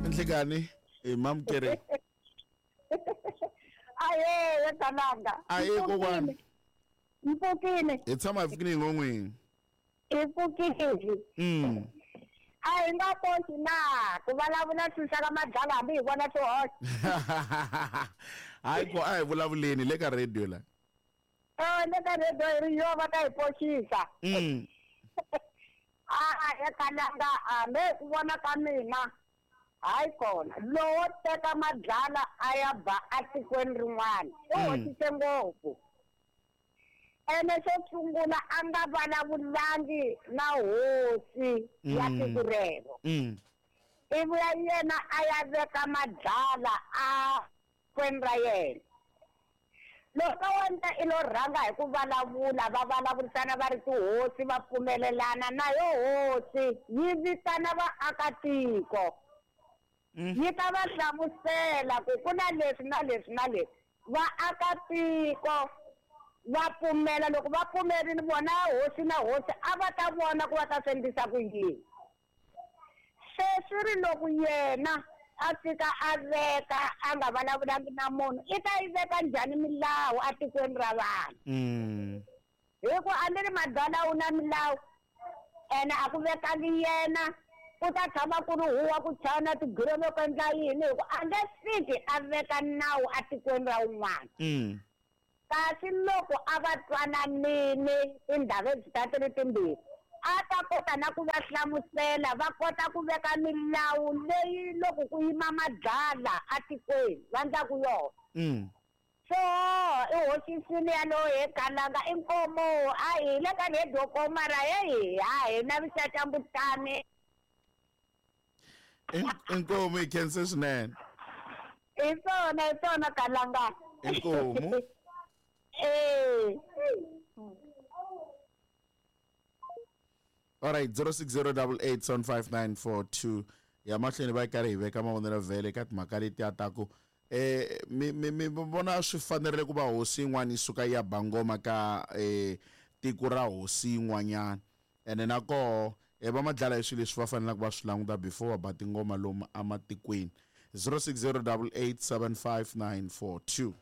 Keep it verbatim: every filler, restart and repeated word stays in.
Nhlikani i mamukeri. Aye, Kalanga. Aye kokwani. Mpfukile. Hi tshama hi pfukile ngon'wini. Hi pfukile. Mm. A hi nga koti na ku vulavula swilo swa ka madlala hambi hi vona swihoxo. Hayi ko a hi vulavuleni le ka radio la. Eh, le ka radio hi ri yo va ta hi poxisa. Mm. A ya Kalanga hambi ku vona ka mina hayi kona lowo teka madlala a ya ba atikweni rin'wana u hoxise ngopfu. Ene xo sungula a nga vulavulangi na hosi ya tiko rero. Ivi ya yena a ya veka madlala a kweni ra yena. Loko wena i lo rhanga hi ku vulavula va vulavurisana va ri tihosi va pfumelelana na yo hosi yi vitana vaakatiko. Yi ta va hlamusela ku ku na leswi na leswi na leswi. Vaakatiko va pfumela loko va pfumerile vona hosi na hosi a va ta vona ku va ta swi endlisa ku yini. Se swi ri loko yena a fika a veka a nga vulavulangi na munhu i ta yi veka njhani milawu atikweni ra vanhu. Hi ku a ni ri madlala wu na milawu ene a ku vekangi yena ku ta tshama ku ri huwa ku chaya na tigireme ku endla yini hi ku a nge fiki a veka nawu atikweni ra un'wana. Kasi loko a va twananile tindhawu leti ta ti ri timbirhi a ta kota na ku va hlamusela va kota ku veka milawu leyi loko ku yima madlala atikweni va endlaku yona. So i hoxisile yaloye he Kalanga i nkomo a hi le ka radio ko mara heyi a hi na vixaxambutani. Inkomu hi khense swinene. Hi swona hi swona Kalanga. Inkomu. Eh. All right, zero six zero double eight seven five nine four two. Ya mahlweni va karhi hi veka mavonelo vhele ka timhaka letiya ta ku eh mi mi mi vona swi fanerile ku va hosi yin'wana yi suka yi ya ba ngoma ka eh tiko ra hosi yin'wanyana ene na koho eh va madlala hi swilo leswi va fanelaka va swi languta before va ba tingoma lomu ematikweni. Zero six zero double eight seven five nine four two.